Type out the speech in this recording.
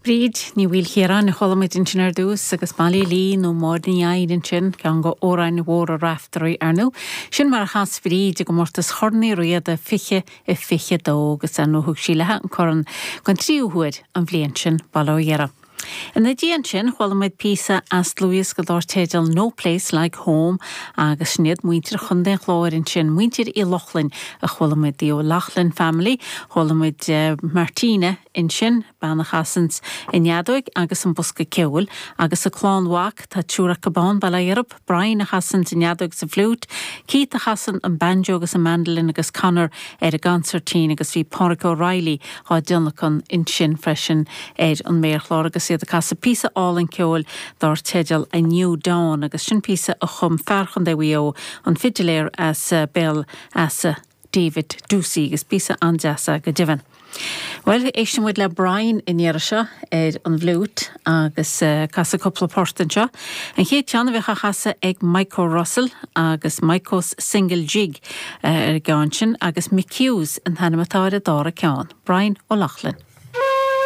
Bríd Ní Mhaoilchiaráin a chuala muid ansin ar dtús agus Molly Lee nó Máire Ní Eidhin ansin, ceann de amhráin mhóra Raiftearaí, ar ndóigh. Sin mar a chas Bríd i gcomórtas Chorn Uí Riada 2022 agus ar ndóigh thug sí léi an corn den tríú huair an bhliain sin, bail ó Dhia uirthi. Ina dhiaidh sin chuala muid píosa as dlúthdhiosca dár teideal No Place Like Home agus sin iad muintir Chontae an Chláir ansin, muintir Uí Lochlainn a chuala muid, The O'Loughlin Family. Chuala muid Martina ansin, bean a chasanns an fheadóig agus an bosca ceoil, agus a clann mhac, tá triúr acu ann, bail ó Dhia orthu, Brian a chasanns an fheadóig is an fliúit, Keith a chasann an banjo agus an mandolin agus Conor ar an gconsairtín agus bhí Pádraic O'Reilly á dtionlacan ansin freisin ar an méarchlár agus iad ag casadh píosa álainn ceoil dár teideal A New Dawn agus sin píosa a chum fear Chontae Mhaigh Eo, an fidiléir as Béal Easa. David Doocey agus píosa an-deas é go deimhin. Bhuel, éistfidh muid le Brian an iarraidh seo ar an bhfliúit agus casfaidh cúpla port anseo. An chéad cheann a bheidh á chasadh ag Micho Russell agus Micho's Single Jig ar an gceann sin agus Mick Hughes an t-ainm atá ar an dara ceann. Brian Ó Lochlainn.